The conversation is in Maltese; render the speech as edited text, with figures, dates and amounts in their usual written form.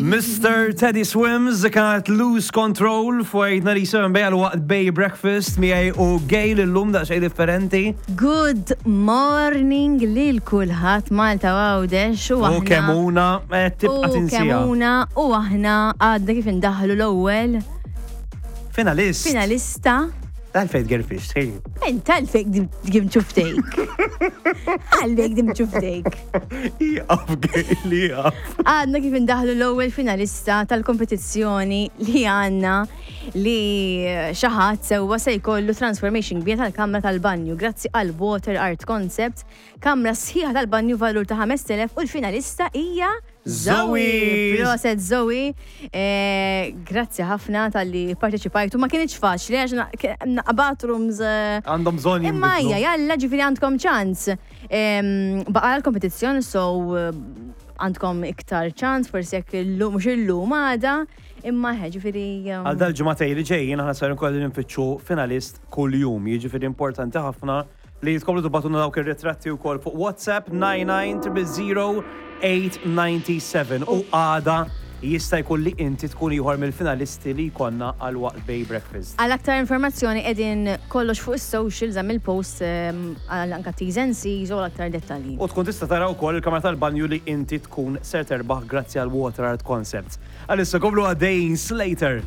Mr. Teddy Swims kienet Lose Control fuq 97 bejja l-waqt Bay Breakfast miegħi u Gail illum daqsxejn differenti. Good morning lil kulħadd Malta u Għawdex u U aħna. kemuna eh, tibqa' U tinsija. kemuna u aħna għadna kif indaħlu l-ewwel Finalist. finalista. Għalfejn tgerfix, hey. Int għalfejn dim ċuftejk. Għalfejn dim ċuftejk. Iqaf, Gail, iqaf. Għadna kif indaħlu l-ewwel finalista tal-kompetizzjoni li għandna li xaħat sewwa se jkollu transformation kbira tal-kamra tal-banju grazzi għal Water Art Concept, kamra sħiħa tal-banju valur ta' 5000 u l-finalista hija Zoe! Proset Zoe, Eh, grazzi ħafna tal-li parteċipajtu. Ma kienx faċli għax bathrooms. Għandhom bżonn Imma jinbidlu. hija, jalla ġifieri għandkom ċans. Baqa l-kompetizzjoni so għandkom iktar ċans, forsi jekk illum mhux illum għada, imma ħe ġifieri. Għal dal-ġimagħtej li ġejjin aħna ser nkollu nfittxu finalist kuljum, jiġifieri importanti ħafna li tkomplu tibgħatulna dawk ir-ritratti wkoll fuq WhatsApp 99 897 u għada jista' jkun li inti tkun ieħor mill-finalisti li jkollna għal waqt Bay Breakfast. Għal aktar informazzjoni qegħdin kollox fuq is-socials hemm il-post għal anka T's and C's u għal aktar dettalji. U tkun tista' tara wkoll il-kamra tal-banju li inti tkun ser terbaħ grazzi għal Water Art Concepts. Għalissa komplu għaddejjin Slater.